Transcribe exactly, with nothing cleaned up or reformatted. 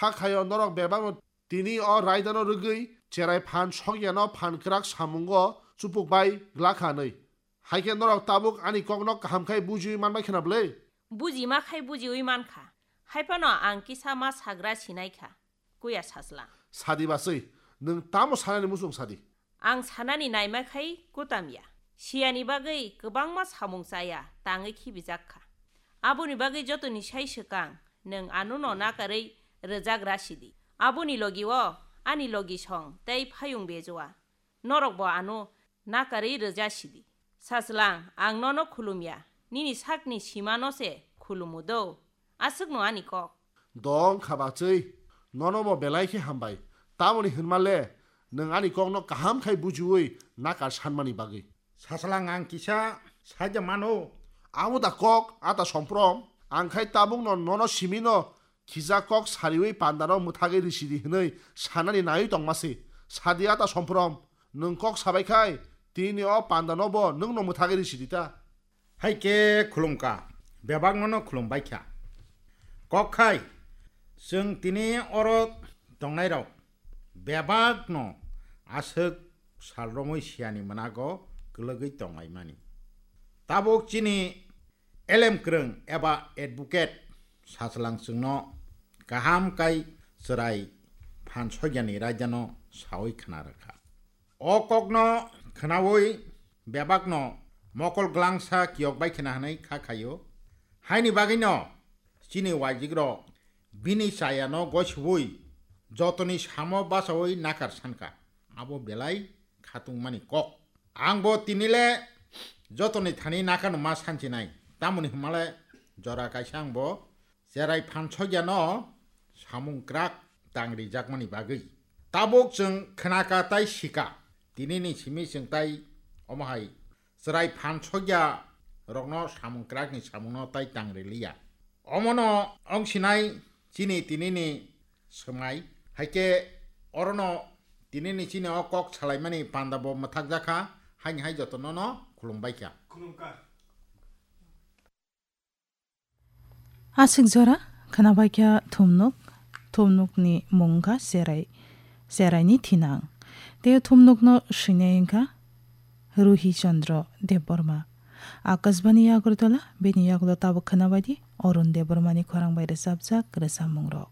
Kha khaio norok bebakno tini o raidano rwgwi cherai phan sokyano phan kwrak samungo chupuk bai glakha hwnwi. Hai khe norok tabuk ani kokno kaham khai bujiwi manbai khna bwle? Bujima khai bujiwi mankha. Hai phano ang kisa ma sagra sinai kha. Kuya Sachwlang. Sadi bachwi, nwng tamo sanani muchung sadi? Ang sanani naima khai kutam ya. Siyani bagwi kwbangma samung chaya tangwi khibijak kha. Aboni bagwi jotoni sai swkang nwng anono nakarwi rwjagra sidi. Aboni logi o ani logi song tei phayung bejua. Norokbo ano nakarwi rwja sidi. Sachwlang, ang nono khulumya. Nini sakni simano se khulumu do. Aswkno ani kok. Dong kha bachwi, nono bo belai khe hambai. Tamoni hwnma le, nwng ani kokno kaham khai bujiwi nakar sanmani bagwi. Sachwlang, ang kisa saja mano. Amo da kok, ata somprom. Ang khai tabukno nono simino khijak kok sariwi pandano mwthagwi risidi hwnwi sanani naiwi tongma se. Sadi ata somprom. Nwng kok sabai khai, tini o pandano bo nwngno mwthagwi risidi ta. Hai khe khulumkha, bebakno no khulumbai kha. Kok khai, chwng tini oro tongnairok bebakno aswk sal romwi siyani mwnago kwlwgwi tonglaimani. Tabuk chini elem kwrwng eba advocate Sachwlang chwngno kaham kai chwrai phan soigyani raidano sawi khna rwkha. O kokno khnaui bebakno mokol glangsa kiyok bai khna hwnwi kha khaio. Haini bagwino chini waijikrok bini chayano gosiui jotoni samo bachaui nakar sankha. Abo belai khatungmani kok. Angbo tinile jotoni thani nakano ma sanchinai. Tamoni hwnmale jora kaisa angbo cherai phan soigyano samung kwrak tangrijakmani bagwi. Tabuk chwng khnaka tai sika, tinini simi chwng tai omo hai cherai phan soigya rokno samung kwrakni samungno tai tangriliya. Omono wng sinai chini tinini swmai, hai khe orono tinini chini o kok salaimani panda bo mwthakjakha, haini hai jotono no khulumbai kha. Aswk jora khwnabaikha thumnuk, thumnukni mung wngkha Cherai, Cheraini thinang. Tei thumnukno swinai wngkha Ruhi Chandra Debbarma. Akashbani Agartala, bini yagulo tabuk khwnabaidi Arun Debbarmani khorang bai rwchapjak rwchapmungrok.